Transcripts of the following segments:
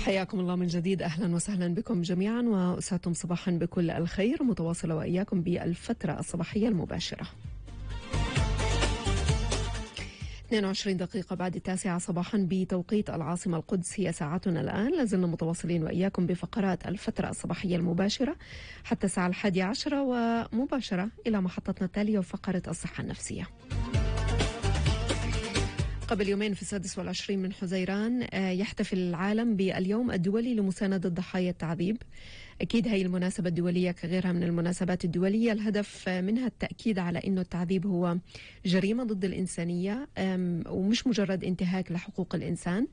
حياكم الله من جديد، أهلا وسهلا بكم جميعا وأسعدتم صباحا بكل الخير، متواصلة وإياكم بالفترة الصباحية المباشرة. 22 دقيقة بعد 9 صباحا بتوقيت العاصمة القدس، هي ساعتنا الآن. لازلنا متواصلين وإياكم بفقرات الفترة الصباحية المباشرة حتى الساعة 11 ومباشرة إلى محطتنا التالية وفقرة الصحة النفسية. قبل يومين في 26 من حزيران يحتفل العالم باليوم الدولي لمساندة ضحايا التعذيب. أكيد هي المناسبة الدولية كغيرها من المناسبات الدولية الهدف منها التأكيد على أنه التعذيب هو جريمة ضد الإنسانية ومش مجرد انتهاك لحقوق الإنسان،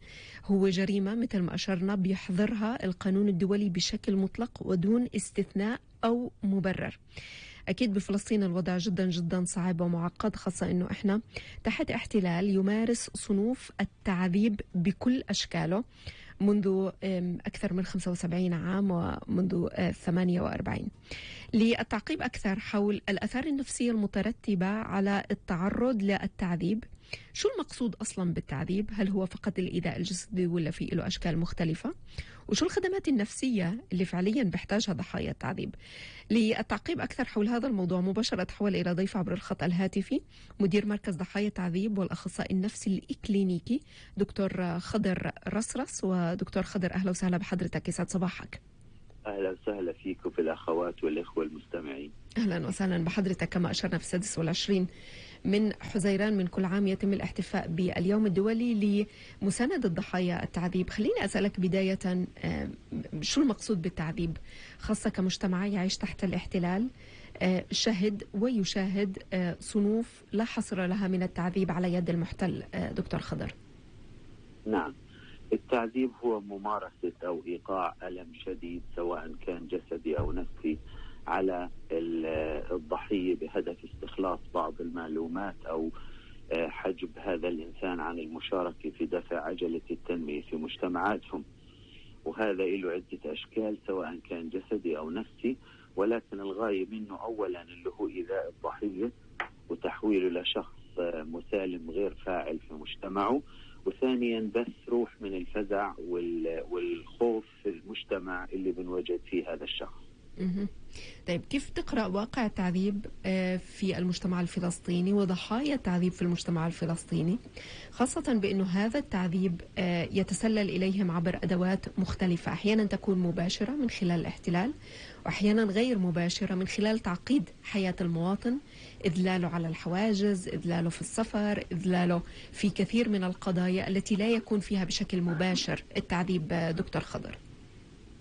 هو جريمة مثل ما أشرنا بيحظرها القانون الدولي بشكل مطلق ودون استثناء أو مبرر. أكيد بفلسطين الوضع جدا جدا صعب ومعقد، خاصة أنه إحنا تحت احتلال يمارس صنوف التعذيب بكل أشكاله منذ أكثر من 75 عام ومنذ 48. للتعقيب أكثر حول الآثار النفسية المترتبة على التعرض للتعذيب، شو المقصود أصلا بالتعذيب؟ هل هو فقط الإيذاء الجسدي ولا في له أشكال مختلفة؟ وشو الخدمات النفسية اللي فعليا بيحتاجها ضحايا التعذيب؟ للتعقيب أكثر حول هذا الموضوع مباشرة أتحول إلى ضيف عبر الخط الهاتفي مدير مركز ضحايا التعذيب والأخصائي النفسي الإكلينيكي دكتور خضر رصرص. ودكتور خضر أهلا وسهلا بحضرتك، يسعد صباحك. أهلا وسهلا فيك وفي الأخوات والإخوة المستمعين. أهلا وسهلا بحضرتك. كما أشرنا في 26 من حزيران من كل عام يتم الاحتفاء باليوم الدولي لمساندة ضحايا التعذيب. خليني أسألك بداية شو المقصود بالتعذيب، خاصة كمجتمع يعيش تحت الاحتلال شهد ويشاهد صنوف لا حصر لها من التعذيب على يد المحتل. دكتور خضر. نعم، التعذيب هو ممارسة أو إيقاع ألم شديد سواء كان جسدي أو نفسي على الضحية بهدف استخلاص بعض المعلومات أو حجب هذا الإنسان عن المشاركة في دفع عجلة التنمية في مجتمعاتهم. وهذا له عدة أشكال سواء كان جسدي أو نفسي، ولكن الغاية منه أولا اللي هو إيذاء الضحية وتحويله لشخص مسالم غير فاعل في مجتمعه، وثانيا بث روح من الفزع والخوف في المجتمع اللي بنوجد فيه هذا الشخص. طيب، كيف تقرأ واقع التعذيب في المجتمع الفلسطيني وضحايا التعذيب في المجتمع الفلسطيني، خاصة بأنه هذا التعذيب يتسلل إليهم عبر أدوات مختلفة، أحيانا تكون مباشرة من خلال الاحتلال وأحيانا غير مباشرة من خلال تعقيد حياة المواطن، إذلاله على الحواجز، إذلاله في السفر، إذلاله في كثير من القضايا التي لا يكون فيها بشكل مباشر التعذيب. دكتور خضر.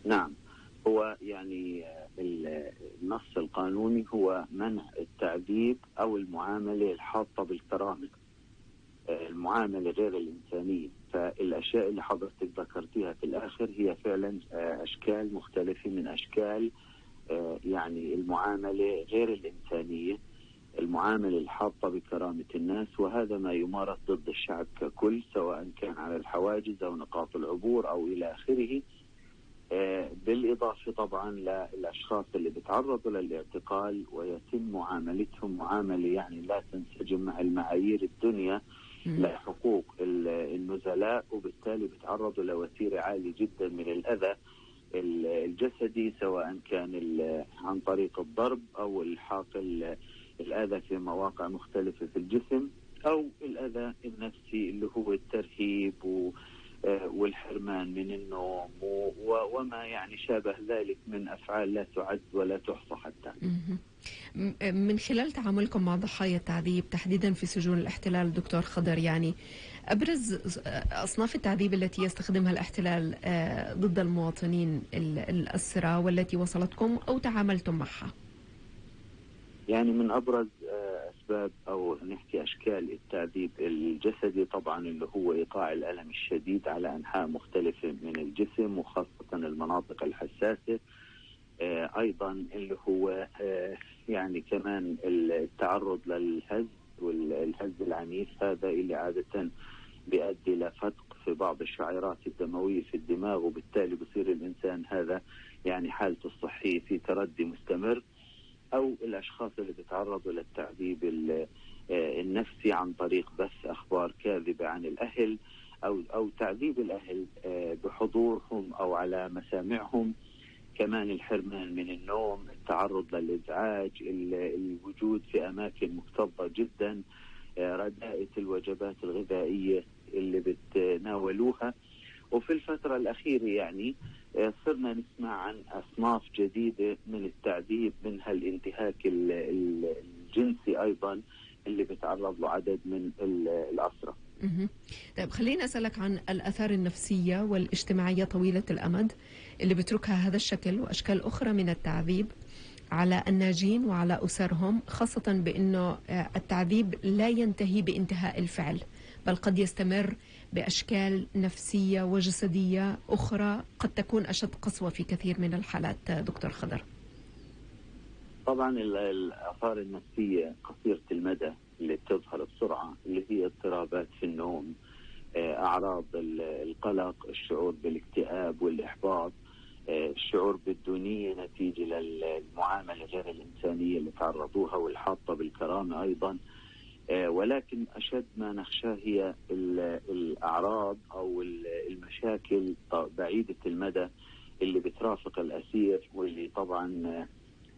نعم، هو يعني النص القانوني هو منع التعذيب أو المعاملة الحاطة بالكرامة، المعاملة غير الإنسانية. فالأشياء اللي حضرتك ذكرتيها في الآخر هي فعلا أشكال مختلفة من أشكال يعني المعاملة غير الإنسانية، المعاملة الحاطة بكرامة الناس، وهذا ما يمارس ضد الشعب ككل سواء كان على الحواجز أو نقاط العبور أو إلى آخره. بالإضافة طبعا للأشخاص اللي بيتعرضوا للاعتقال ويتم معاملتهم معاملة يعني لا تنسجم مع المعايير الدنيا لحقوق النزلاء، وبالتالي بيتعرضوا لوتيرة عالية جدا من الأذى الجسدي سواء كان عن طريق الضرب أو الحاق الأذى في مواقع مختلفة في الجسم، أو الأذى النفسي اللي هو الترهيب والحرمان من النوم وما يعني شابه ذلك من أفعال لا تعد ولا تحصى حتى. من خلال تعاملكم مع ضحايا التعذيب تحديدا في سجون الاحتلال دكتور خضر، يعني أبرز أصناف التعذيب التي يستخدمها الاحتلال ضد المواطنين الأسرى والتي وصلتكم أو تعاملتم معها؟ يعني من أبرز أسباب أو نحكي أشكال التعذيب الجسدي طبعا اللي هو إيقاع الألم الشديد على أنحاء مختلفة من الجسم وخاصة المناطق الحساسة. أيضا اللي هو يعني كمان التعرض للهز والهز العنيف، هذا اللي عادة بيؤدي لفتق في بعض الشعيرات الدموية في الدماغ، وبالتالي بصير الإنسان هذا يعني حالته الصحية في تردي مستمر. أو الأشخاص اللي بيتعرضوا للتعذيب النفسي عن طريق بث أخبار كاذبة عن الأهل أو تعذيب الأهل بحضورهم أو على مسامعهم، كمان الحرمان من النوم، التعرض للإزعاج، الوجود في أماكن مكتظة جدا، رداءة الوجبات الغذائية اللي بتناولوها. وفي الفترة الأخيرة يعني صرنا نسمع عن أصناف جديدة من التعذيب، منها الانتهاك الجنسي أيضا اللي بتعرض له عدد من الأسرى. طيب خليني أسألك عن الآثار النفسية والاجتماعية طويلة الأمد اللي بتركها هذا الشكل وأشكال أخرى من التعذيب على الناجين وعلى أسرهم، خاصة بأنه التعذيب لا ينتهي بانتهاء الفعل، بل قد يستمر بأشكال نفسية وجسدية أخرى قد تكون أشد قسوة في كثير من الحالات. دكتور خضر، طبعا الآثار النفسية قصيرة المدى اللي بتظهر بسرعة اللي هي اضطرابات في النوم، أعراض القلق، الشعور بالاكتئاب والإحباط، الشعور بالدونية نتيجة للمعاملة غير الإنسانية اللي تعرضوها والحاطة بالكرامة أيضا. ولكن أشد ما نخشاه هي الأعراض أو المشاكل بعيدة المدى اللي بترافق الأسير، واللي طبعا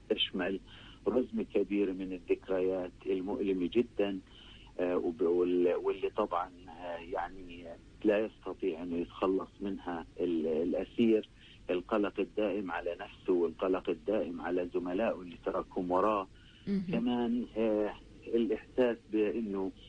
تشمل رزم كبير من الذكريات المؤلمة جدا، واللي طبعا يعني لا يستطيع أنه يتخلص منها الأسير. القلق الدائم على نفسه والقلق الدائم على زملائه اللي تركهم وراه. كمان الإحساس بأنه